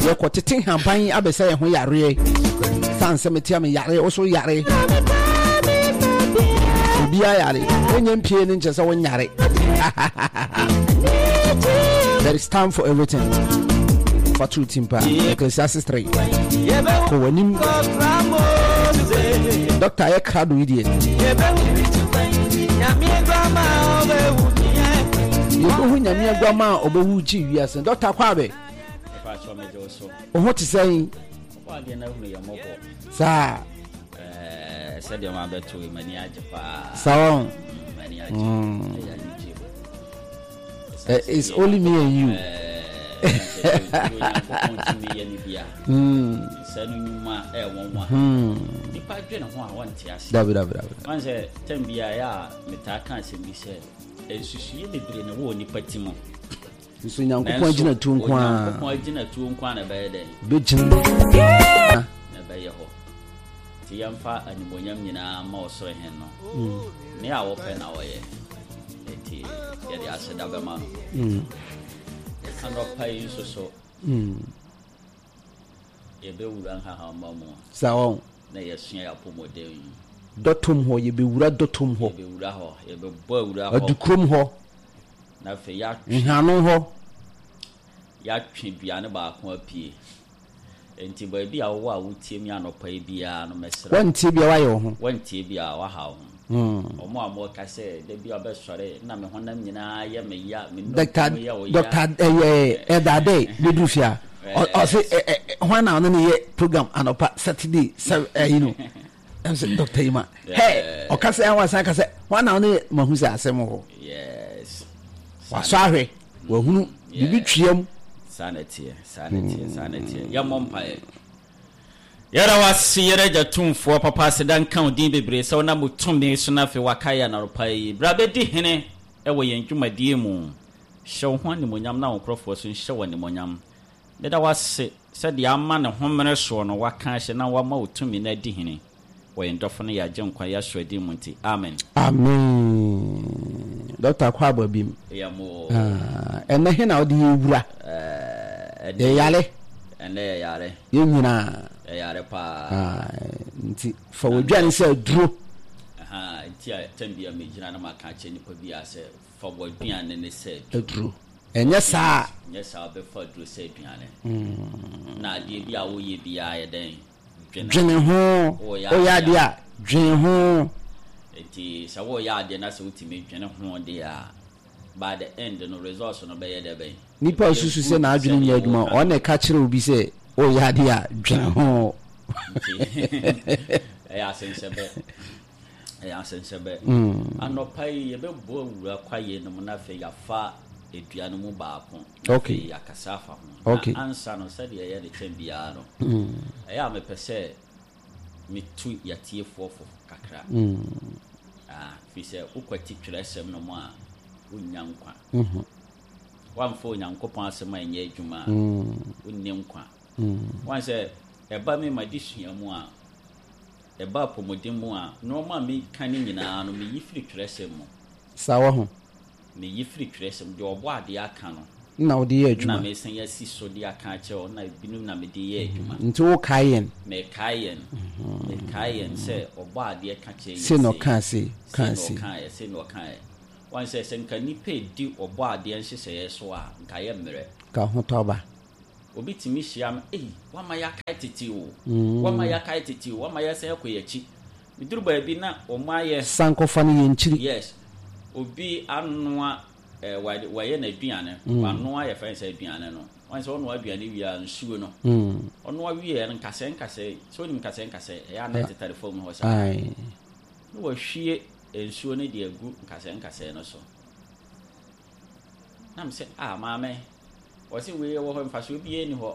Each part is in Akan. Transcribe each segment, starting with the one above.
Yɛkɔtete nhaban abɛsɛ yɛn ho yareɛ. San sɛ metea me yare, wo so yare. Obiara yare. Wonyɛ mpie no nkyɛ sɛ wonyare. There is time for everything. Fa to tim paa. Ecclesiastes 3. Kɔ w'anim. Doctor yɛ krado yi deɛ. Yɛbɛhu Nyame aguama a ɔbɛwu gye wiase. Doctor Kwabe. Wo ho te sɛn? Saa. Sɛdeɛ ma bɛto yi m'ani agye paa. Saa wɔn. M'ani agye. Ɛyɛ anigye. It's only me and you. Onyankopɔn tumi yɛ ne bia. Nsa no nnwuma ɛyɛ nwanwa. Nipa dwene ho a wɔnte ase. Dabi dabi dabi. Wɔn sɛ tɛm bi a yɛ a metaa ka asɛm bi sɛ nsusuiɛ bebree na ɛwɔ nipa ti mu. Nso Nyankopɔn agyinatuo nko ara. Onyankopɔn agyinatuo nko ara na ɛbɛyɛ dɛn? Bɛgyina. Na ɛbɛyɛ hɔ. Nti yɛmfa animuonyam nyinaa ma ɔsoro hen no. Nea wɔpɛ na ɔyɛ. Nti yɛde aseda bɛma no. Anɔpa yi nso so. Yɛbɛwura nhahamma mu. Saa wɔn. Na yɛasua yɛn apɔmuden yi. Dɔtom hɔ, yɛbɛwura dɔtom hɔ. Yɛbɛwura hɔ, yɛbɛbɔ awura hɔ. Adukurom hɔ. Na afei yɛatwe. Nhano hɔ. Yɛatwe dua no baako apue. Enti baabi a wowɔ a wotie me anɔpa yi biara no, mɛsrɛ wo. Woantie bi a, woayɛ wo ho. Woantie bi a, woaha wo ho. Wɔn a wɔka sɛ, Da bi a wobɛsɔre na me honam nyinaa yɛ me ya, me nnompe mu yɛ wo ya. Dɔkta ɛyɛ Elder Adair bɛduru fie a, ɔse hwan na ɔne ne yɛ program anɔpa Saturday sɛ ɛyi no. Ɛm sɛ Dɔkta yi ma. Hɛ ɔka sɛ ɛwɔ asan ka sɛ hwan na ɔne mahu sɛ asɛm wɔ hɔ. Yes. Wasɔ ahwɛ, wahunu biribi tweam. Saa na ɛteɛ, saa na ɛteɛ, saa na ɛteɛ. Yɛmmɔ mpaeɛ. Yɛda wo ase yɛn Agya Tumfoɔ papa aseda nka wo din bebree sɛ wonam wo tumi so na afei wakae yɛn anɔpa yi. Bra bɛdi hene wɔ yɛn dwumadie mu. Hyɛ wo ho animuonyam na wo nkorɔfoɔ nso nhyɛ wo animuonyam. Meda wo ase sɛ deɛ ama ne homene soɔ no waka ahyɛ na wama wo tumi no adi hene wɔ yɛn dɔfo ne yɛn Agyenkwa Yahshua din mu nti, amen. Amen Doctor Akwaaba bim. Yɛ mo. Ah, ɛnɛ he na wode yɛ wura? Ɛnɛ Yɛ yare. Ɛnɛ yɛ yare. Yɛ nyinaa. Yɛ yare paa. Ah, nti fa w'aduane sɛ aduro. Aha, nti a tɛm bi a megyina na maka akyerɛ nipa bi a sɛ fa w'aduane ne sɛ aduro. Ɛnyɛ saa. Nyɛ saa wobɛfa aduro sɛ aduane. Na adeɛ bi a woyɛ biara yɛ dɛn? Dwene ho. Woyɛ adeɛ a, dwene ho. Nti sɛ woyɛ adeɛ na sɛ wotumi dwene ho deɛ a, by the end no results no bɛyɛ dɛ bɛn? Nipa a osusu sɛ n'adwene nyɛ adwuma, ɔno na ɛka kyerɛ obi sɛ woyɛ adeɛ a, dwene ho. Nti ɛyɛ asensɛbɛ. Ɛyɛ asensɛbɛ. Anɔpa yi yɛbɛbɔ awura kwaeɛ no mu na afei yɛafa dua no mu baako. Na afei yɛakasa afa ho. Na ansa no, sɛdeɛ ɛyɛ no kyɛn biara no, ɛyɛ a mepɛ sɛ metu yɛatiefoɔ fo kakra. Firi sɛ wokwati twerɛsɛm no mu a, wonnya nkwa. Woamfa Onyankopɔn asɛm anyɛ adwuma a, wonni nkwa. Woahu sɛ ɛba me m'adesua mu a, ɛba apɔmuden mu a, nnoɔma a meka no nyinaa no, meyi firi twerɛsɛm mu. Saa wahu. Meyi firi twerɛsɛm mu. Deɛ Ɔbɔadeɛ aka no. Na wode yɛ adwuma. Na mesan asi so de aka akyerɛ wo, na ebinom na mede yɛ adwuma. Nti wokae yɛn. Mekae yɛn. Mekae yɛn sɛ Ɔbɔadeɛ ka kyerɛ yɛn sei. Sei na ɔkaa sei, kaa sei. Sei na ɔkaeɛ, sei na ɔkaeɛ. Woahu sɛ, sɛ nka nnipa redi Ɔbɔadeɛ nhyehyɛeɛ so a, nka yɛmmrɛ. Nka ahotɔ aba. Obi tumi hyia me, ei, woama yɛakae tete o, woama yɛakae tete o, woama yɛasan akɔ yɛn akyi. Meduru baabi na wɔayɛ. Sankɔfa no yɛ nkyiri. Yes. Obi anoa eh, wayɛ n'aduane, wanoa yɛfrɛ no sɛ aduane no. Wɔn sɛ ɔnoa aduane wie a nsuo no. Ɔnoa wieɛ no nkasɛɛ nkasɛɛ, sɛ wonim nkasɛɛ nkasɛɛ, ɛyɛ a na ɛtetare fam hɔ saa. Na wahwie nsuo no de agu nkasɛɛ nkasɛɛ no so. Na me sɛ, ah maame, wɔse wei wɔ hɔ mfasoɔ biara nni hɔ.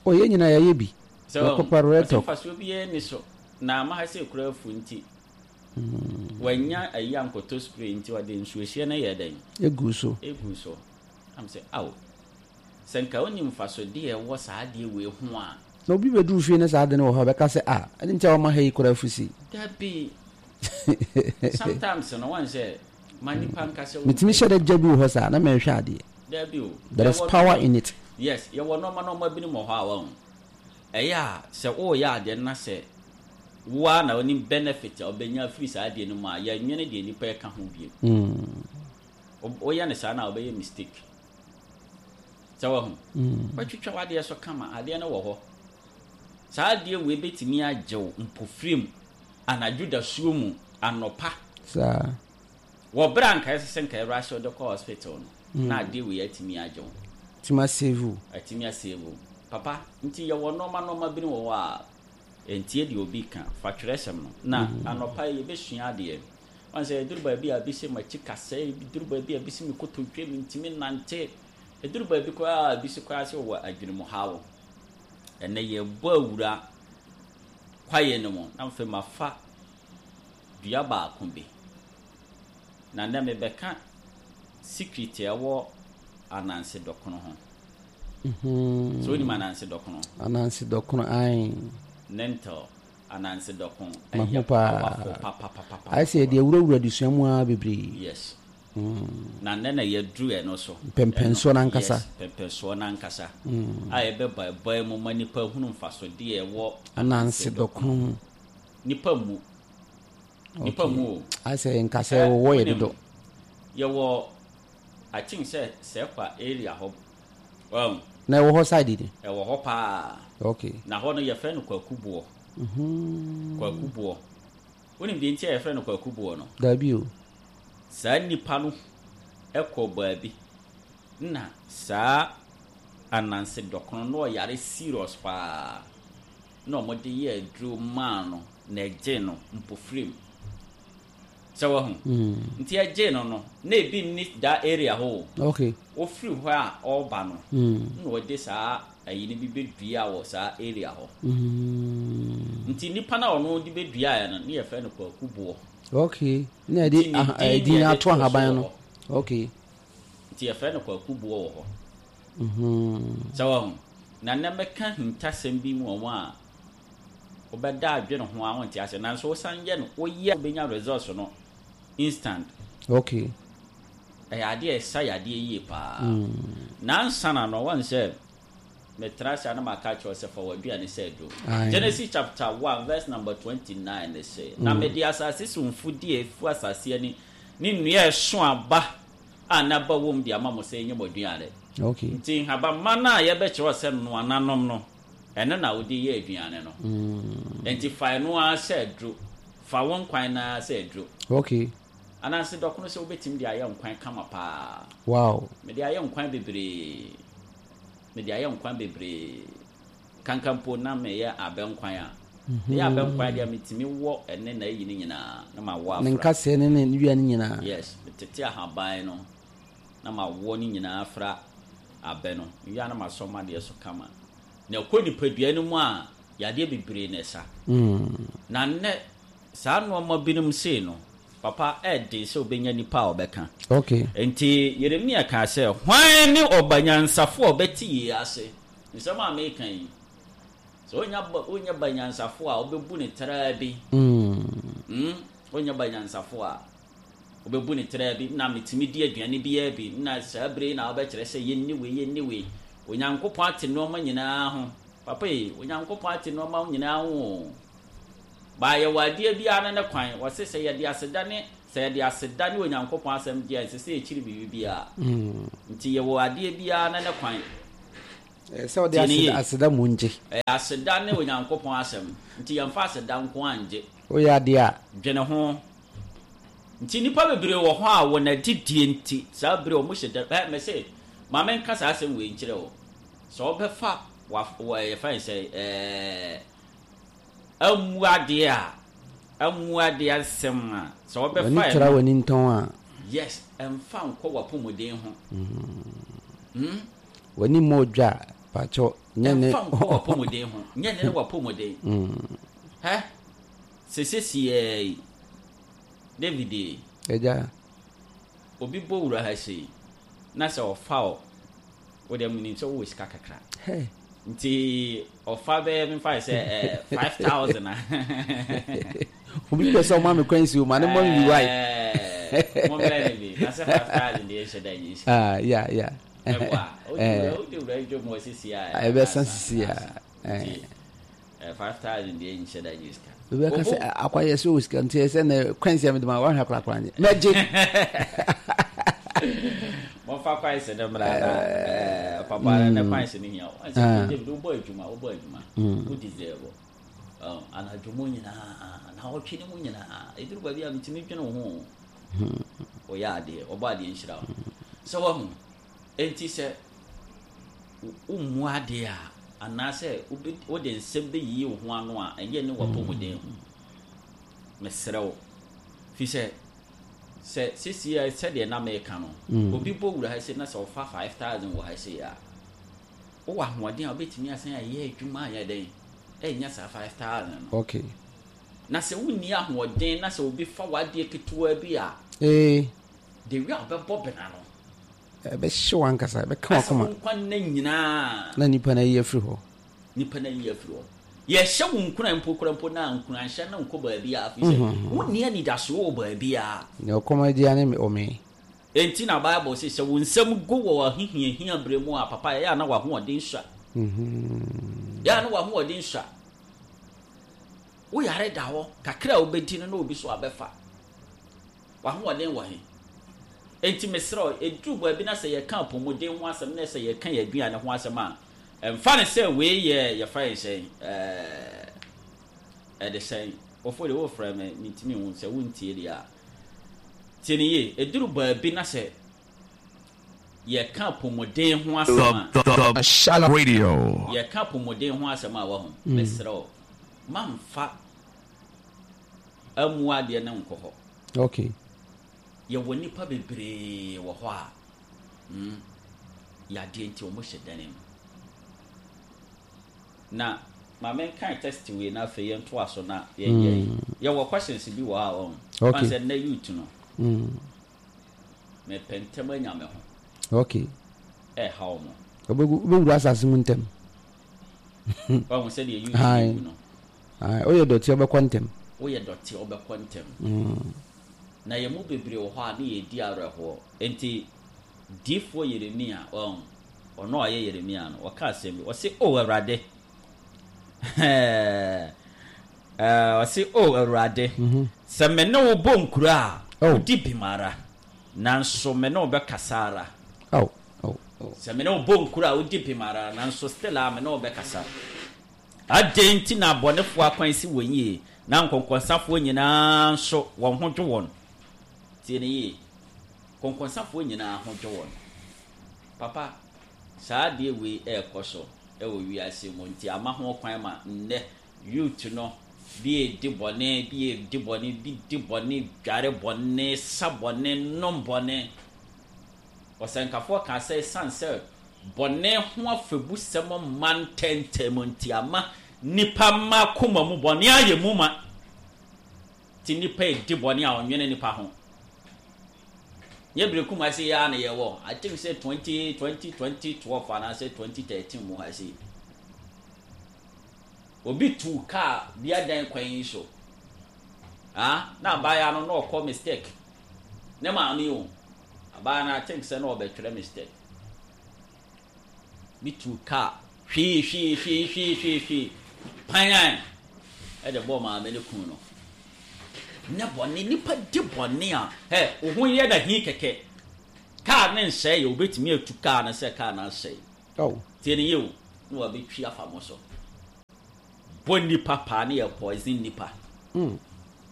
O yɛn nyinaa yɛayɛ bi. Sɛ Yɛkɔpa wɔse retɔ. mfasoɔ biara nni so. Na ama ha sɛ kura afu nti, wannya ayi ankɔtɔ spray nti ɔde nsuohyeɛ no yɛɛ dɛn? Eguu so. Eguu so. Na me sɛ, ao, sɛ nka wonim mfasodeɛ a ɛwɔ saa adeɛ wei ho a. Na obi bɛduru fie na saa ade no wɔ hɔ a, ɔbɛka sɛ, ah, ɛne nti a wɔma ha yi kura afu sei. Dabi. Sometimes no, wɔn sɛ ma nipa nka sɛ. Metumi hyɛ da gya bi wɔ hɔ saa na mɛhwɛ adeɛ. Dabi o. There is power in it. Yes, yɛwɔ nnoɔma nnoɔma binom wɔ hɔ a wahu. Ɛyɛ a sɛ woreyɛ adeɛ no na sɛ wo ara na wonim benefit a wobɛnya afiri saa adeɛ no mu a, yɛnnwene deɛ nnipa reka ho bio. Woyɛ no saa no a wobɛyɛ mistake. Sɛ wahu? Woatwitwa w'adeɛ so kama, adeɛ no wɔ hɔ. Saa adeɛ wei bɛtumi agye wo mpofirim, anadwo dasuo mu, anɔpa. Saa. Wɔ berɛ a nka ɛsɛ sɛ nka ɛrush wo de kɔ hospital no, na adeɛ wei atumi agye wo. Atumi asave wo. Atumi asave wo. Papa, nti yɛwɔ nnoɔma nnoɔma binom wɔ hɔ a, ntie deɛ obi ka, fa twerɛsɛm no. Na anɔpa yi yɛbɛsua adeɛ. Woahu sɛ ɛduru baabi a ebi se m'akyi kasɛe, ɛduru baabi a ebi se me kotodwe mentumi nnante, ɛduru baabi koraa a ebi se koraa sɛ wɔwɔ adwenemuhaw. Ɛnnɛ yɛrebɔ awura kwaeɛ no mu na afei mafa dua baako bi. Na nnɛ mebɛka secret a ɛwɔ ananse dɔkono ho. Mm-hmm. So wonim ananse dɔkono? Ananse dɔkono, ae. Lentil, ananse dɔko. Mahu paa. Ayɛ sɛ yɛde awurawura adesua mu ara bebree. Yes. Mm. Na nnɛ na yɛduru ɛno so. Mpɛmpɛnsoɔ no ankasa. Yes, mpɛmpɛnsoɔ no ankasa. Mm. A yɛbɛbaebae mu ma nipa hunu mfasodeɛ ɛwɔ ananse dɔkono ho. Nipa mmu. Nipa mmu o. Ayɛ sɛ nka sɛ wɔwɔ yɛ dodo. Yɛwɔ I think sɛ Sɛkwa area hɔ. Wahu? Na ɛwɔ hɔ side ni? Ɛwɔ hɔ paa. Okay. Na hɔ no yɛfrɛ no Kwaku Boɔ. Mm-hmm. Kwaku Boɔ. Wonim deɛ nti a yɛfrɛ no Kwaku Boɔ no? Daabi o. Saa nipa no kɔ baabi na saa Ananse dɔkono no ɔyare serious paa. Na wɔde yɛɛ aduro maa no na ɛgyee no mpofirim. Sɛ wahu? Nti ɛgyee no no, na ebi nni that area hɔ o. Okay. Ofiri hɔ a ɔreba no, na ɔde saa ayi no bi bɛdua wɔ saa area hɔ. Nti nipa no a ɔno de bɛduaeɛ no, ne yɛfrɛ no Kwaku Boɔ. Okay. Na yɛde edin ato ahaban no. Okay. Nti yɛfrɛ no Kwaku Boɔ wɔ hɔ. Sɛ wahu? Na nnɛ mɛka ahintasɛm bi mu wɔ a wobɛda adwene ho a wonte aseɛ nanso wosan yɛ no woyɛ wobɛnya results no instant. Okay. Ɛyɛ adeɛ a ɛsa yadeɛ yie paa. Nansa na no wɔn sɛ metra ase a na maka akyerɛ wo sɛ fa w'aduane sɛ aduro. Genesis chapter 1 verse number 29 ne se, Na mede asase so mfudeɛ a ɛfu asase ani ne nnua a ɛso aba a n'aba wom de ama mo sɛ ɛnyɛ mo aduane. Okay. Nti nhabamma no a yɛbɛkyerɛ wo sɛ noa na nom no, ɛno na wode yɛ aduane no. Nti fa ɛno ara sɛ aduro. Fa wo nkwan no ara sɛ aduro. Okay. Ananse dɔkono sɛ wobɛtumi de ayɛ nkwan kama paa. Wow. Mede ayɛ nkwan bebree. Mede ayɛ nkwan bebree. Kanka mpo na meyɛ abɛnkwan a, meyɛ abɛnkwan deɛ metumi wɔ ɛne n'ayi no nyinaa na mawɔ afra. Ne nkasɛɛ ne ne wia no nyinaa. Yes, metete ahaban no na mawɔ ne nyinaa afra abɛ no. Mewie a na masɔ m'adeɛ so kama. Na ɛkɔ nipadua no mu a, yadeɛ bebree na ɛsa. Na nnɛ, saa nnoɔma binom sei no, papa, ɛyɛ den sɛ wobɛnya nipa a ɔbɛka. Okay. Enti Yeremia kaa sɛ, Hwan ne ɔba nyansafoɔ a ɔbɛte yei ase? Nsɛm a mereka yi, sɛ wonya ba, wonya ba nyansafo a, wobɛbu ne traa bi. Mm. Wonya ba nyansafo a, wobɛbu ne traa bi. Na metumi di aduane biara bi. Na saa bere yi na wobɛkyerɛ sɛ yɛnni wei, yɛnni wei. Onyankopɔn ate nneɛma nyinaa ho. Papa yi, Onyankopɔn ate nneɛma nyinaa ho o. Baa yɛwɔ adeɛ biara ne ne kwan. Wɔse sɛ yɛde aseda ne sɛ yɛde aseda ne Onyankopɔn asɛm gye a, ɛnsɛ sɛ yɛkyiri biribi biara. Nti yɛwɔ adeɛ biara ne ne kwan. Ɛyɛ sɛ wode aseda aseda mu ngye. Ɛyɛ aseda ne Onyankopɔn asɛm. Nti yɛmfa aseda nko ara ngye. Woyɛ adeɛ a. Dwene ho. Nti nnipa bebree wɔ hɔ a wɔn adidie nti saa bere wɔn hyɛ da ɛ mese ma menka saa asɛm wei nkyerɛ wo. Sɛ wobɛfa wa wɔ yɛfrɛ no sɛ ɛɛ ammu adeɛ a ammu adeɛ asɛm a sɛ wobɛfa W'ani tra w'ani ntɔn a. Yes, ɛmfa nkɔ w'apɔmuden ho. Mm. W'ani mmɔ odwa a, pakyɛw, nyɛ ne. Ɛmfa nkɔ w'apɔmuden ho. Nyɛ ne ne w'apɔmuden. Hɛ? Sɛ sesiaa yi, David e. Agya. Obi bɔ wura ha sei, na sɛ ɔfa wo, wo deɛ menim sɛ wowɔ sika kakra. Hɛ. Nti ɔfa bɛyɛ memfa yɛ sɛ eh, 5,000 a. Obi pɛ sɛ ɔma me kwan si o, ma ne mmɔ me bi wae. Mommrɛ ne bi, na sɛ 5,000 deɛ ɛnhyɛ da nyɛ sika. Ah, yeah, yeah. Mɛboa. Wode wura dwom wɔ sisi a. Ɛbɛsa sisi a. 5,000 deɛ nhyɛ da nyɛ sika. Obi aka sɛ akwayɛ sɛ wɔ sika nti ɛsɛ na kwan si a mede ma wahwɛ korakora nyɛ. Mɛgye. Momfa kwan si no mmra na papa na kwan si no hia. Sɛ David wobɔ adwuma wobɔ adwuma. Wo deserve. Anadwo mu nyinaa na ɔtwe ne mu nyinaa. Ɛduru baabi a metumi dwene wo ho. Woyɛ adeɛ, ɔbɔ adeɛ nhyira wo. Sɛ wahu, enti sɛ wommu adeɛ a, anaasɛ wode nsɛm bɛyiyi wo ho ano a, ɛnyɛ ne w'apɔmuden ho. Mesrɛ wo. Fi sɛ, sɛ sesie a sɛdeɛ na meka no, obi bɔ wura ha sei na sɛ ɔfa 5,000 wɔ ha sei a, wowɔ ahoɔden a wobɛtumi asan ayɛ adwuma ayɛ dɛn? Ɛnya saa 5,000 no. Okay. Na sɛ wonni ahoɔden na sɛ obi fa w'adeɛ ketewa bi a, Ee. the way a wobɛbɔ bena no. Ɛbɛhye w'ankasa, ɛbɛka Asɛ w'akoma. wo nkwa nna nyinaa. Na nipa no ayi afiri hɔ. Nipa no ayi afiri hɔ. Yɛhyɛ wo nkuran mpo koraa mpo na nkuranhyɛ no nkɔ baabiara firi sɛ wonni anidasoɔ wɔ baabiara. Nea ɔkɔm adi ara ne ɔmee. Enti na Bible se, sɛ wo nsam go wɔ w'ahohiahia berɛ mu a, papa, ɛyɛ a na w'ahoɔden sua. Ɛyɛ a na w'ahoɔden sua. Wo yare da hɔ, kakra a wobɛdi no na obi so abɛfa. W'ahoɔden wɔ he? Enti mesrɛ wo, ɛduru baabi na sɛ yɛka apɔmuden ho asɛm na sɛ yɛka yɛn aduane ho asɛm a, mfa no sɛ wei yɛ yɛfrɛ no sɛn, ɛɛ, ɛde sɛn, Ofo deɛ wofrɛ me, mentumi nhu sɛ wontie deɛ a. Tie no yie, ɛduru baabi na sɛ yɛka apɔmuden ho asɛm a, The Shalom Radio. yɛka apɔmuden ho asɛm a wahu, mesrɛ wo, mamfa ammu adeɛ no nkɔ hɔ. Okay. Yɛwɔ nnipa bebree wɔ hɔ a, mm, yadeɛ nti wɔn hyɛ dan mu. Na ma menkan test wei na afei yɛntoa so na yɛnyɛ yi. Yɛwɔ questions bi wɔ hɔ a wɔn. Okay. Sɛ nnɛ youth no. Mepɛ ntɛm anya me ho. Okay. Ɛhaw mo. Wobɛwura asase mu ntɛm. Wahu sɛdeɛ youth no wu no. Woyɛ dɔteɛ wobɛkɔ ntɛm. Woyɛ dɔteɛ wobɛkɔ ntɛm. Na yɛn mu bebree wɔ hɔ a ne yɛredi awerɛhoɔ. Enti diyifoɔ Yeremia, wahu, ɔno a ɔyɛ Yeremia no, ɔka asɛm bi. Ɔse, O Awurade, ɛɛ, ɔse, O Awurade, sɛ me ne wo bɔ nkuro a, wodi bem ara, nanso me ne wo bɛkasa ara. Sɛ me ne wo bɔ nkuro a, wodi bem ara, nanso still a me ne wo bɛkasa. Adɛn nti na abɔnefoɔ akwan si wɔn yie, na nkɔnkɔnsafoɔ nyinaa nso, wɔn ho dwo wɔn? Tie no yie. Nkɔnkɔnsafoɔ nyinaa ho dwo wɔn. Papa, saa adeɛ wei ɛrekɔ so wɔ wiase mu nti ama ho kwan ma nnɛ youth no bi redi bɔne, bi redi bɔne, bi di bɔne, dware bɔne, sa bɔne, nom bɔne. Ɔsɛnkafoɔ kaa sɛ ɛsiane sɛ bɔne ho afɛbusɛm mma ntɛmntɛm nti ama nnipa mma akoma mu bɔne ayɛ mu ma. Nti nnipa redi bɔne a ɔnwene nnipa ho. Nyɛ bere kum ase yi ara na yɛwɔ. I think sɛ 20, 20, 2012 anaasɛ 2013 mu ha sei. Obi tuu kaa bi adan kwan yi so. Ah, na abaayewa no na ɔkɔ mistake. Ne maame o. Abaayewa no I think sɛ na ɔbɛtwerɛ mistake. Bi tuu kaa hwii hwii hwii hwii hwii hwii panyan ɛde bɔɔ maame no kun no. Nyɛ bɔne, nipa di bɔne a, hɛ, wo ho yɛ na hi kɛkɛ. Kaa ne nsɛe yɛ, wobɛtumi atu kaa no sɛ kaa no asɛe. Oh. Tie no yie o, na wabɛtwi afa mo so. Bɔ nipa paa ne yɛ poison nipa.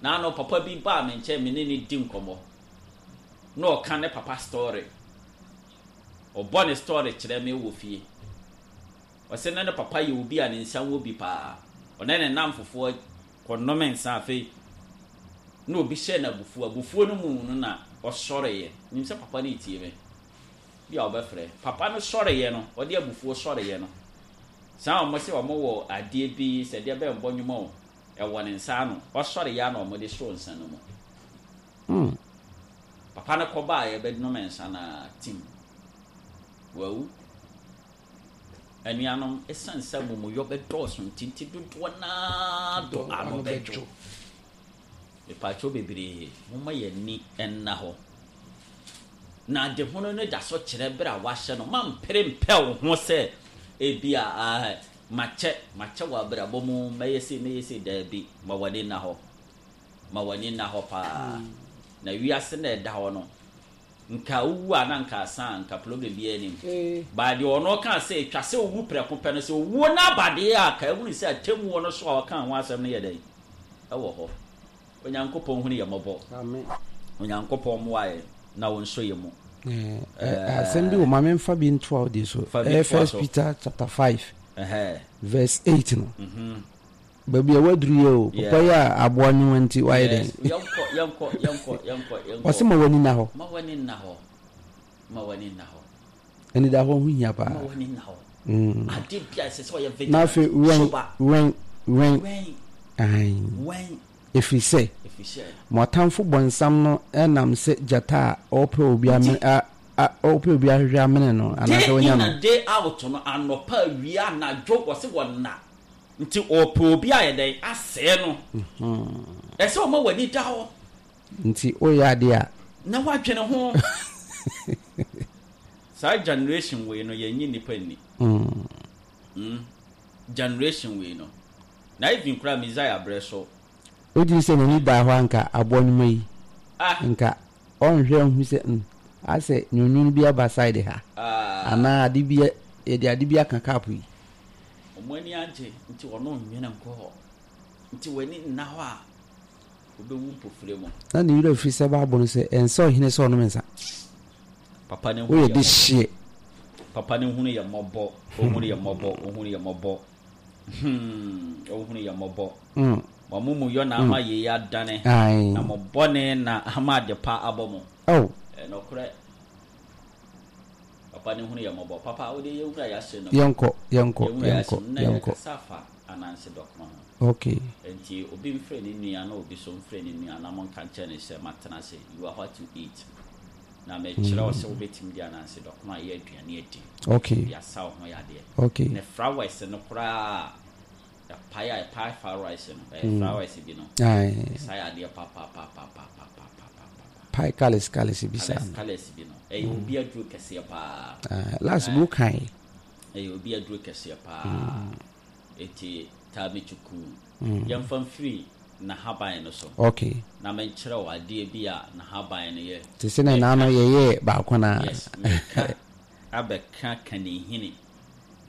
Naano papa bi baa me nkyɛn me ne no di nkɔmmɔ. Na ɔka ne papa story. Ɔbɔ ne story kyerɛ me wɔ fie. Ɔse na ne papa yɛ obi a ne nsa wɔ bi paa. Ɔne ne nnamfofoɔ kɔnom nsa afei na obi hyɛɛ no abufuo. Abufuo no mu no na ɔsɔreeɛ. Menim sɛ papa no retie me. Bi a ɔbɛfrɛ. Papa no sɔreeɛ no, ɔde abufuo sɔreeɛ no, saa a wɔse wɔwɔ adeɛ bi sɛ deɛ bɛn bɔ nnwom o, ɛwɔ ne nsa ano. Ɔsɔreeɛ ara na wɔde soo nsa no mu. Papa no kɔbaeɛ bɛnom nsa no ara, tim, wawu. Anuanom, esiane sɛ amumuyɔ bɛdɔɔso nti, nti dodoɔ no ara dɔ ano bɛdwo. Mepaakyɛw bebree, momma yɛn ani nna hɔ. Na adehunu no da so kyerɛ bere a wɔahyɛ no. Mma mpere mpɛ wo ho sɛ ebia, ah, makyɛ, makyɛ wɔ abrabɔ mu, mɛyɛ sei, mɛyɛ sei. Daabi, ma w'ani nna hɔ. Ma w'ani nna hɔ paa. Na wiase no a ɛda hɔ no, nka wowu a na nka asa a, nka problem biara nnim. But deɛ ɔno kaa sɛ ɛtwa sɛ owu prɛko pɛ no, sɛ owuo no aba deɛ a, ka ahunu sɛ atemmuo no so a ɔkaa ho asɛm no yɛ dɛn? Ɛwɔ hɔ. Onyankopɔn hunu yɛn mmɔbɔ. Onyankopɔn mmoa yɛn na ɔnsɔ yɛn mu. Asɛm bi wɔ ma memfa bi ntoa wo deɛ so. Ɛyɛ First Peter chapter 5 verse 8 no. Mhm. Baabi a waduru yɛ o, papa yi a aboa nwoma nti wayɛ dɛn? Yɛnkɔ, yɛnkɔ, yɛnkɔ, yɛnkɔ, yɛnkɔ. Ɔse ma w'ani nna hɔ. Ma w'ani nna hɔ. Ma w'ani nna hɔ. Anidahɔ ho hia paa. Ma w'ani nna hɔ. Mm. Ade bi a ɛsɛ sɛ ɔyɛ vigilant. Na afei wɛn, wɛn, wɛn. Wɛn. Ɛfiri sɛ, mo atamfo bɔnsam no nam sɛ gyata a ɔrepɛ obi amene a a ɔrepɛ obi ahwehwɛ amene no anaasɛ wanya no. Day in and day out no, anɔpa, awia, anadwo, wɔse wɔnna. Nti ɔrepɛ obi ayɛ dɛn? Asɛe no. Ɛsɛ sɛ ɔma w'ani da hɔ. Nti woyɛ adeɛ a. Na woadwene ho. Saa generation wei no yɛnnye nnipa nni. Mm. Generation wei no. Na even koraa Messiah berɛ so. Wogye di sɛ n'ani daa hɔ a anka aboa nnwuma yi nka ɔnhwɛ nhu sɛ mm asɛ nwonwon bi aba side ha anaa ade bi yɛde ade bi aka cup yi. Wɔn ani agye nti wɔn nnwene nkɔ hɔ nti w'ani nna hɔ a wobɛwu mpofire mu. Na ne werɛ firi sɛ Bible no sɛ ɛnsɛ ɔhene sɛ ɔnom nsa. Papa no hunu Woyɛ yɛ de mmɔbɔ. hyeɛ. Papa no hunu yɛ mmɔbɔ. Ɔhunu yɛ mmɔbɔ. Ɔhunu yɛ mmɔbɔ. Hmm, ɔhunu yɛ mmɔbɔ. Mo amumuyɔ na ama yei adane, na mo bɔne na ama adepa abɔ mo. Oh. Ɛyɛ nokorɛ. Papa no hunu yɛ mmɔbɔ. Papa, wo deɛ yɛnwura yɛn asɛm no mu. Yɛnkɔ, yɛnkɔ, Yɛnwura yɛn yɛnkɔ, asɛm no mu na yɛnkɔ. yɛkasa afa ananse dɔkono ho. Okay. Enti obi mfrɛ ne nua na obi so mfrɛ ne nua na monka nkyerɛ no sɛ matena ase, you are what you eat. Na mekyerɛ wo sɛ wobɛtumi de ananse dɔkono ayɛ aduane adi. Okay. De asa wo ho yadeɛ. Okay. Ne flowers no koraa ɛpae a ɛpae flowers no, ɛyɛ flowers bi no. Aye. Ɛsa yadeɛ papapapapapapapa. Pae colours colours bi saa. Colours colours bi no. Ɛyɛ obi aduro kɛseɛ paa. Ah, last bi wokae. Ɛyɛ obi aduro kɛseɛ paa. Eti taa me kyukuu. Yɛmfa mfiri n'ahaban no so. Okay. Na menkyerɛ wo adeɛ bi a n'ahaban no yɛ. Te sɛ na n'ano yɛyɛɛ baako no ara. Yes, meka abɛka kanihini.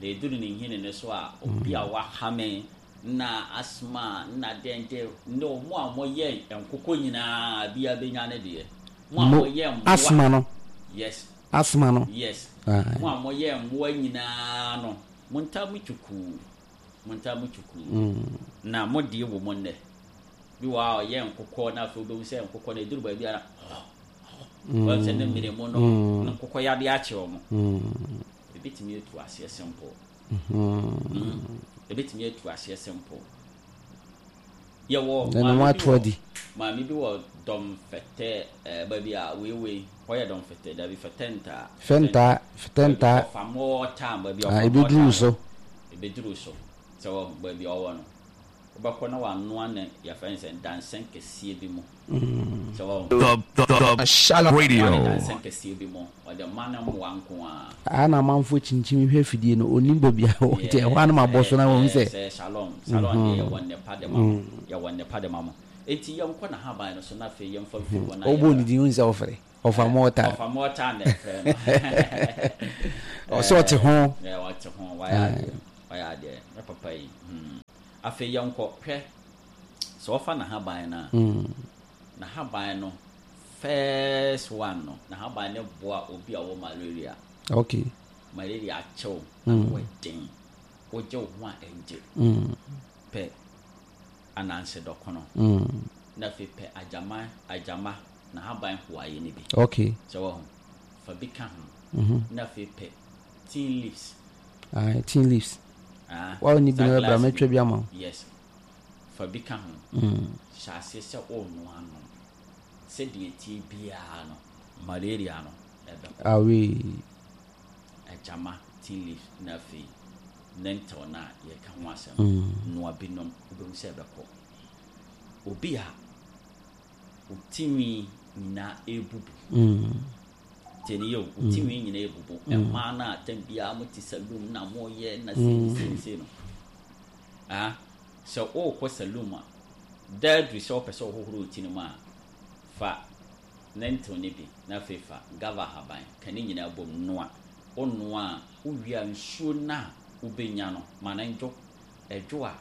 Na ɛduru ne nhini no so a, obi a wahame na asthma na dɛn dɛn ne wɔn a wɔyɛ nkokɔ nyinaa biara bɛnya ne deɛ. Mo a wɔyɛ mmoa. Asthma no. Yes. Asthma no. Yes. Mo a wɔyɛ mmoa nyinaa no, montaa mo twukuu. Montaa mo twukuu. Na mo deɛ wɔ mu nnɛ. Bi wɔ hɔ a ɔyɛ nkokɔ na afei wobɛhu sɛ nkokɔ no ɛduru baabi a na wɔn sɛ ne mmere mu no nkokɔ yadeɛ akye wɔn. Ebetumi atu aseɛ simple. Ebetumi atu aseɛ simple. Yɛwɔ maame bi wɔ maame bi wɔ dɔm fɛtɛ ɛɛ baabi a weiwei hɔ yɛ dɔm fɛtɛ dabi fɛtɛ ntaa. Fɛntaa fɛtɛ ntaa. Ɔfa mɔɔ baabi a ɔfa mɔɔ Ebeduru so. Ebeduru so sɛ wɔ baabi a ɔwɔ no. Wobɛkɔ na wanoa ne yɛfrɛ no sɛ dansɛn kɛseɛ bi mu. Sɛ wahu. The the the Shalom Wanoa ne Radio. dansɛn kɛseɛ bi mu. Ɔde ma ne mmoa nko ara. Aha na amanfoɔ kyinkyim hwɛ afidie no, ɔnnim baabi a ɛwɔ nti ɛhɔ ara na mabɔ so na wahu sɛ. Sɛ Shalom, Shalom deɛ yɛwɔ nnepa de ma mo, yɛwɔ nnepa de ma mo. Enti yɛnkɔ n'ahaban no so na afei yɛmfa mfiri hɔ na Wobɔɔ yɛmmra. ne din wohu sɛ ɔfrɛ, ɔfa mɔɔta. Ɔfa mɔɔta na ɛfrɛ no. Ɔsɛ ɔte ho. Ɔte ho, wayɛ adeɛ, wayɛ adeɛ, me papa yi. Hmm. Afei yɛnkɔ, hwɛ, sɛ wɔfa n'ahaban no a, n'ahaban no, first one no, n'ahaban no boa obi a ɔwɔ malaria. Okay. Malaria akyew, ano mm. den, wogye wo ho a ɛngye. Mm. Pɛ ananse dɔkono. Mm. Na afei pɛ agyama, agyama, n'ahaban hoayɛ no bi. Okay. Sɛ wɔho, fa bi ka ho. Mm -hmm. Na afei pɛ tin leaves. Ah, tin leaves. Ah, Wa ni bi na bra mɛtwa bi ama wo. Yes. Fa bi ka ho. Mm. Hyɛ aseɛ sɛ ɔrenoa nom. Sɛdeɛ ɛteɛ biara no, malaria no ɛbɛkɔ. Awee. Agyama, tin leaves, na afei lentil no a yɛka ho asɛm. Mm. Noa bi nom, wobɛhu sɛ ɛbɛkɔ. Obi a wo tinwi nyinaa ɛrebubu. Mm. Tie ne yie o, wo ti nwi nyinaa ebubu. Mmaa no a tam biara mo te saloon na mo yɛ na sei ne sei ne sei no. Ah, sɛ wokɔ saloon a, da aduru sɛ wopɛ sɛ wohohoro wo ti no mu a, fa lentil no bi na afei fa guava ahaban ka ne nyinaa bom noa. Wonoa a, wowie a nsuo no a wobɛnya no, ma no ndwo. Ɛdwo a,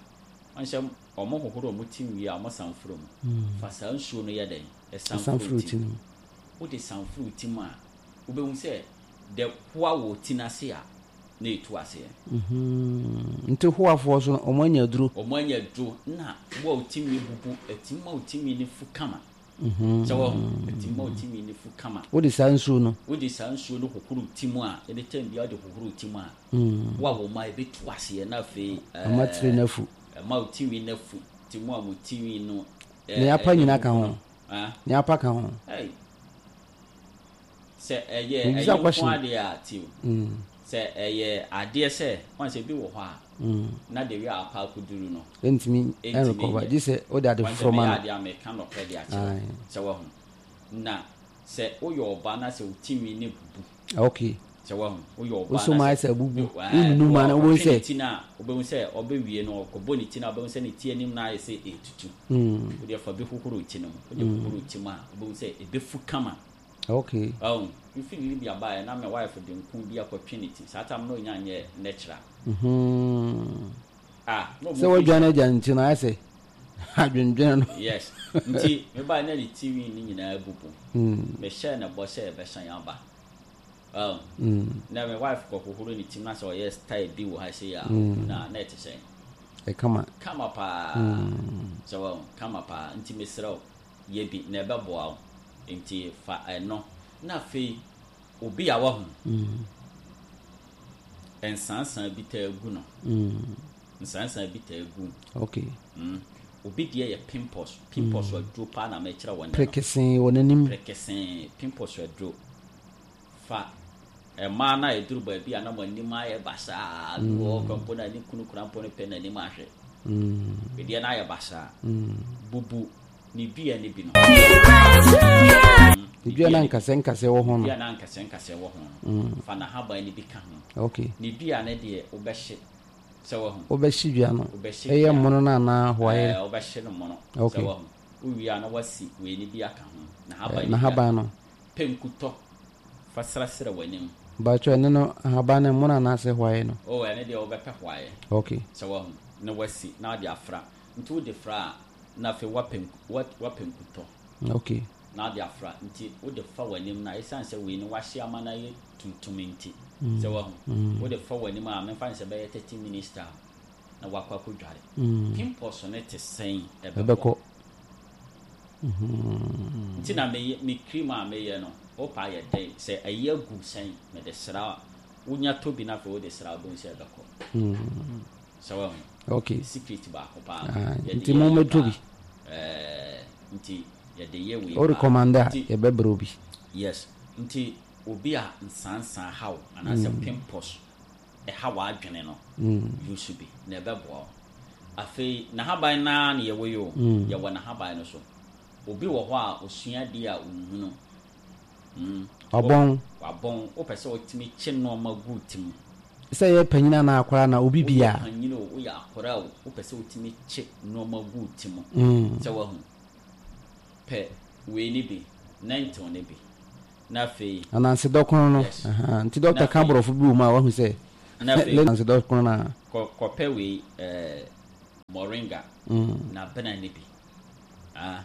woahu sɛ wɔhohoro wɔn ti wie a, wɔsan foro mu. Fa saa nsuo no yɛ dɛn? San foro wo ti mu. Wode san foro wo ti mu a, wobɛhu sɛ dɛ hoa wɔ ti no ase a, na ɛtu aseɛ. Nti hoafoɔ so no, wɔn anya aduro. Wɔn anya aduro na wo a wo ti nwi bubu, ɛtumi ma wo ti nwi no fu kama. Sɛ wahu, ɛtumi ma wo ti nwi no fu kama. Wode saa nsuo no. Wode saa nsuo no hohoro wo ti mu a, ɛne tɛm biara wode hohoro wo ti mu a, wo a wɔn a ɛbɛtu aseɛ na afei. Ɛma tiri no afu. Ɛma wo ti nwi no afu. Nti mo a mo ti nwi no. Nea apa nyina ka ho. Nea apa ka ho. Sɛ ɛyɛ ɛyɛ nko adeɛ a tiw. Sɛ ɛyɛ adeɛ sɛ wɔn sɛ bi wɔ hɔ a na de wi apa akɔduru no. Ɛntumi ɛnrekɔba gye sɛ wode ade foforɔ ma no. Wɔn sɛ meyɛ adeɛ a meka nɔkorɛ de akyerɛ sɛ wahu. Na sɛ woyɛ ɔbaa na sɛ wo ti nwi no bubu. Okay. Sɛ wahu, woyɛ ɔbaa na sɛ. Wosɔ mu ayɛ sɛ abubu. Wonunu mu a na wobɛhu sɛ. Ɔtwe ne ti no a, wobɛhu sɛ ɔbɛwie no, ɔkɔbɔ ne ti no a, wobɛhu sɛ ne ti anim no ayɛ sɛ ɛretutu. Wodeɛ fa bi hohoro wo ti no mu. Wode hohoro wo ti mu a, wobɛhu sɛ ɛbɛfu kama. Okay. Wahu, mefiri Libya baeɛ na me wife de nku bi akɔtwe ne ti. Saa tam no na ɔnya nyɛɛ natural. Ah, na ɔmo Sɛ wadwane agya ne ti no ayɛ sɛ adwendwene no. Yes. Nti mebaeɛ na ne ti nwi no nyinaa abubu. Mehyɛɛ no bɔ sɛ yɛbɛsan aba. Oh. Na me wife kɔ hohoro ne ti na sɛ ɔyɛ style bi wɔ ha sei a, na na ɛte sɛn? Ɛkama. Kama paa. Sɛ wɔn kama paa. Nti mesrɛ wo, yɛ bi na ɛbɛboa wo. Nti fa ɛno. Na afei obi a wahu nsansan bi taa gu no. Nsansan bi taa gu. Okay. Obi deɛ yɛ pimples. Pimples aduro paa na mɛkyerɛ wɔn. Prekesee wɔ n'anim. Prekesee pimples aduro. Fa mmaa no a ɛduru baabi a na mo anim ayɛ basaa, bi wɔ hɔ kora mpo na ne kunu kora mpo no pɛ n'anim ahwɛ. Wedeɛ no ayɛ basaa. Bubu ne dua no bi no. Ne dua no ankasɛ nkasɛ wɔ ho no. Dua no ankasɛ nkasɛ wɔ ho no. Fa n'ahaban no bi ka ho. Okay. Ne dua no deɛ wobɛhye sɛ wahu. Wobɛhye dua no. Wobɛhye Ɛyɛ mono no anaa hoayɛ? Ɛɛ wobɛhye no mono. Okay. Sɛ wahu. Wowie a na wasi wei no bi aka ho. N'ahaban no bi. N'ahaban no. Pɛ nkutɔ fa srasra w'anim. Mpakyɛw ɛno no ahaban no mono anaasɛ hwaeɛ no? Oh ɛno deɛ wobɛpɛ hwaeɛ. Okay. Sɛ wahu na wasi na wode afra. Nti wode fra a na afei woapɛ woapɛ nkutɔ. Okay. Na wode afra nti wode fa w'anim no a esiane sɛ wei no wahye ama no ayɛ tuntum nti sɛ wahu wode fa w'anim a memfa no sɛ bɛyɛ 30 minutes time na wakɔ akɔdware. Pimples no te sɛn ɛbɛkɔ. Nti na me me cream a meyɛ no wopa ayɛ dɛn sɛ ayi agu sɛn mede sra a wonya tɔ bi na afei wode sra wobɛhu sɛ ɛbɛkɔ sɛ wahu okay secret baako paa ah, nti mo mɛtɔ bi nti yɛde yɛ wei o recommend a yɛbɛbrɛ obi yes nti obi a nsansan haw anaasɛ mm. pimples ɛha w'adwene no, use bi na ɛbɛboa wo. Afei n'ahaban no ara na yɛwɔ yi o, yɛwɔ n'ahaban no so. Obi wɔ hɔ a osua adeɛ a ɔnhunu. Mm. Wabɔn. Wabɔn. Wopɛ sɛ wotumi kye nneɛma gu ti mu. Sɛ yɛ panyin anaa akwadaa na obi bia. Woyɛ panyin o, woyɛ akwadaa o, wopɛ sɛ wotumi kye nneɛma gu ti mu. Sɛ wahu. Pɛ wei ne bi, nɛntew ne bi. Na afei. Ananse dɔkono no. Yes. Ahaa, nti dɔkta ka borɔfo bi wɔ mu a wahu sɛ. Na afei. Ananse dɔkono no a. Kɔ kɔpɛ wei ɛɛ moringa. Na bena no bi. Ah,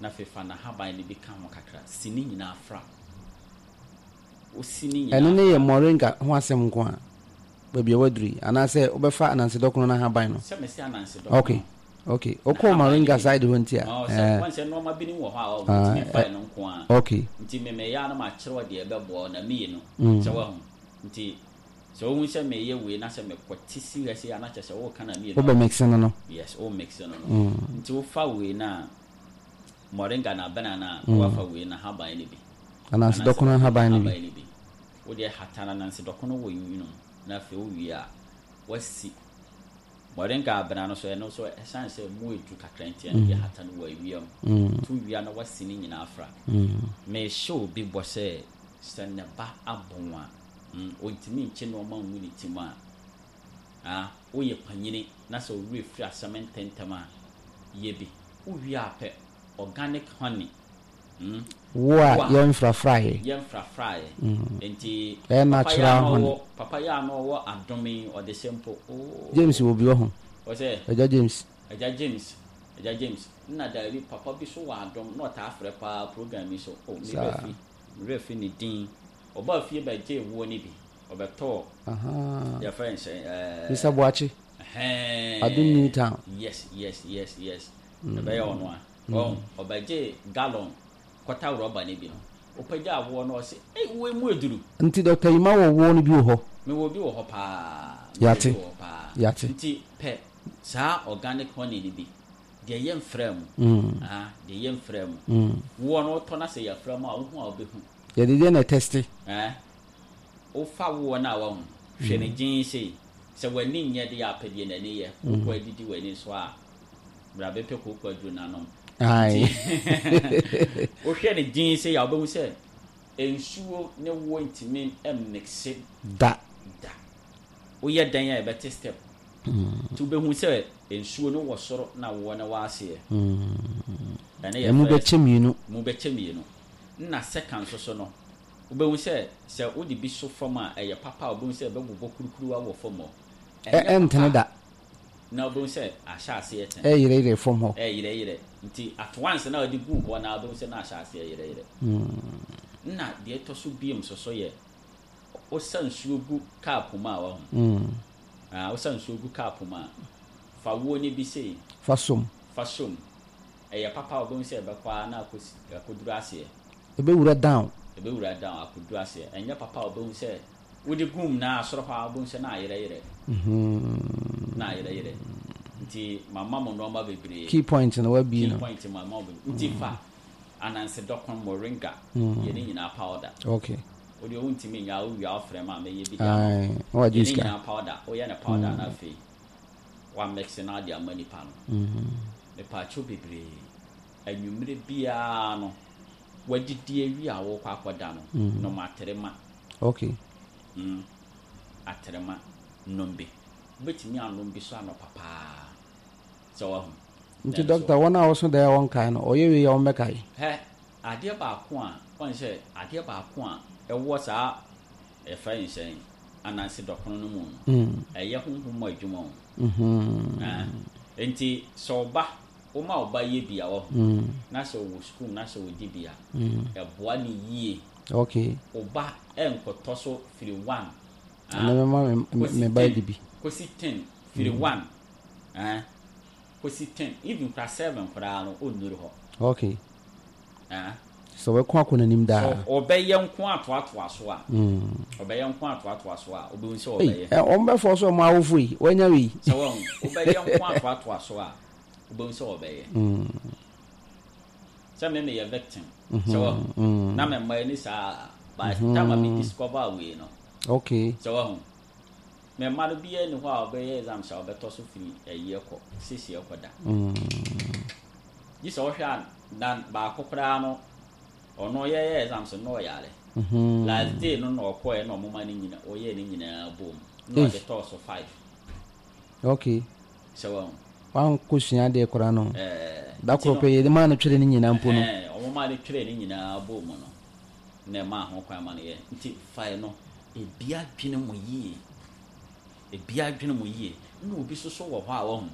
na afei fa n'ahaban no bi ka ho kakra. Si ne nyinaa fra. Wosi ne nyinaa. Ɛno ne yɛ moringa ho asɛm nko a. Baabi a waduru yi anaasɛ wobɛfa ananse dɔkono no ahaban no. Sɛ mese ananse dɔkono. Okay. Okay. Wokɔɔ Moringa side hɔ nti a. Oh, sɛ wɔn sɛ nneɛma binom wɔ hɔ a wɔtumi fa ɛno nko a. Okay. Nti me meyɛ a na makyerɛ wo deɛ ɛbɛboa wo na meyɛ no. Sɛ wahu. Nti sɛ wohu sɛ meyɛ wei na sɛ mekɔte si ha sei a na kyerɛ sɛ woka na meyɛ no. Wobɛ mix no no. Yes, wo mix no no. Nti wofa wei no a Moringa na abena no a na wafa wei no ahaban no bi. Ananse dɔkono ahaban no bi. Wodeɛ hata no ananse dɔkono wɔ nwunu mu na afei wowie a wasi Moringa abena no so, ɛno nso ɛsiane sɛ mu edu kakra nti ɛno deɛ hata no wɔ awia mu. To wia na wasi ne nyinaa afra. Mehyɛ obi bɔ sɛ. Sɛ ne ba abɔn a, ɔntumi nkye nnoɔma ngu ne ti mu a, ah, woyɛ panyini na sɛ wo werɛ firi asɛm ntɛntɛm a, yɛ bi. Wowie a pɛ organic honey, Wo a yɛmfrafraeɛ. Yɛmfrafraeɛ. Nti Ɛyɛ papa yi a natural na honey. ɔwɔ, papa yi a na ɔwɔ adom yi, ɔde hyɛ mpo, ooh. James wɔ bi wɔ ho. Ɔsɛ? Agya James. Agya James, Agya James. Nna daabi, papa bi so wɔ adom na ɔtaa frɛ paa program yi so. Oh, me werɛ Saa. fi, me werɛ fi ne din. Ɔbaa fie bɛgyee woɔ no bi. Ɔbɛtɔɔ, Ahaa. yɛfrɛ no sɛn, ɛɛ. Mister Boakye. Ɛhɛɛn. Adom New Town. Yes, yes, yes, yes. Ɛbɛyɛ ɔno a. Wahu? Ɔbɛgyee gallon kɔta rɔba no bi no, ɔpagyaa woɔ no, ɔse, Ei, woɔ yi mu aduru. Nti Doctor Yima wɔ woɔ no bi wɔ hɔ? Mewɔ bi wɔ hɔ paa. Mewɔ bi Yɛate. wɔ hɔ paa. Yɛate. Nti pɛ saa organic honey no bi, deɛ yɛmfraa mu. Ah, deɛ yɛmfraa mu. Woɔ no wotɔ na sɛ yɛafra mu a, wohu a wobɛhu. Yɛde deɛ na ɛtɛste. Eh, wofa woɔ no a wahu, hwɛ no gyenn sei. Sɛ w'ani nyɛ deɛ a, pɛ deɛ n'ani yɛ. Wokɔ adidi w'ani so a, bra bɛpɛ kooko aduro no anom. Ae. Nti wohwɛ no gyenn sei a, wobɛhu sɛ nsuo ne woɔ ntumi mmixe Da. da. Woyɛ dɛn a ɛbɛte step. Nti wobɛhu sɛ nsuo no wɔ soro na woɔ no wɔ aseɛ. Ɛno yɛ Emu first. bɛkyɛ mmienu. Mu bɛkyɛ mmienu. Nna second nso so no, wobɛhu sɛ sɛ wode bi so fam a, ɛyɛ papa a wobɛhu sɛ ɛbɛbobɔ kurukuruwa wɔ fam hɔ. Ɛ Ɛnyɛ ɛntene papa da. a, na wobɛhu sɛ ahyɛ aseɛ tene. Ɛreyerɛyerɛ fam hɔ. Ɛreyerɛyerɛ. Nti at once na wode guu hɔ no ara wobɛhu sɛ na ahyɛ aseɛ yerɛyerɛ. Nna deɛ ɛtɔ so biom nso so yɛ, wosa nsuo gu cup mu a wahu. Ah, wosa nsuo gu cup mu a, fa woɔ no bi sei. Fa som. Fa som. Ɛyɛ papa a wobɛhu sɛ ɛbɛkɔ ara na akɔsi, akɔduru aseɛ. Ɛbɛwura down. Ɛbɛwura down akɔduru aseɛ. Ɛnyɛ papa a wobɛhu sɛ wode gu mu na soro hɔ ara wobɛhu sɛ na ayerɛyerɛ. Na ayerɛyerɛ. Nti mama mo nnoɔma bebree. Key point no wabie no. Key point mama mo bebree. Nti fa ananse dɔkono, moringa, yɛ ne nyinaa powder. Okay. Wo deɛ wontumi nyɛ a wowie a wofrɛ me a mɛyɛ bi de ama wo. Ae, na wagye Yɛ ne sika. nyinaa powder, woyɛ no powder na afei wa mix na wode ama nipa no. Mepaakyɛw bebree, anwummere biara no wadidi awie a wokɔ akɔda no, nom aterema. Okay. Mm, aterema, nom bi. Wobɛtumi anom bi so anɔpa paa. Sɛ wahu. Nti Nanso. doctor, wɔn a wɔso daeɛ a wɔnkae no, ɔyɛ wei a wɔmmɛkae? Hɛ, adeɛ baako a, wɔn sɛ adeɛ baako a ɛwɔ saa yɛfrɛ no sɛn, ananse dɔkono no mu no, ɛyɛ honhom mu adwuma o. Ɛɛ, nti sɛ ɔba, woma ɔba yɛ bi a wahu, na sɛ ɔwɔ sukuu na sɛ ɔdi bi a, ɛboa no yie. Okay. Ɔba ɛnkɔtɔ so firi one, Ɛnna mɛma me kɔsi me ba ten, adi bi. kɔsi 10, firi 1, ɛɛ, kɔsi 10, even koraa 7 koraa no, ɔnnuru hɔ. Okay. Ɛɛ. Sɛ ɔbɛko akɔ n'anim daa. Sɛ ɔbɛyɛ nko atoatoa so a, ɔbɛyɛ nko atoatoa so a, wobɛhu sɛ Ei, ɔbɛyɛ. ɛ, wɔn bɛfɔ so wɔn awofo yi, wɔanya wei. Sɛ wɔn, wobɛyɛ nko atoatoa so a, wobɛhu sɛ ɔbɛyɛ. Sɛ me meyɛ victim, sɛ wɔn, na me mma ani saa, by the time a me discover wei no. Okay. Sɛ wɔn, me mma no biara ni hɔ a ɔbɛyɛ exams a ɔbɛtɔ so firi ɛyi ɛkɔ, sisi ɛkɔ da. Gye sɛ wohwɛ a na baako koraa no ɔno yɛyɛ exams no na ɔyare. Last day no na ɔkɔɛ na ɔmoma ne nyina ɔyɛɛ ne nyinaa bom na ɔde tɔɔ so 5. Okay. Sɛ wahu. Wankɔ sua adeɛ koraa no. Ɛɛ. Da koro pɛ yɛde maa no twerɛ ne nyinaa mpo no. Ɛɛ ɔmo no twerɛ ne nyinaa bom no na ɛmaa ho kwan ma no yɛ. Nti fae no ebi adwene mu yie. Ebi adwene mu yie. Na obi soso wɔ hɔ a wahu.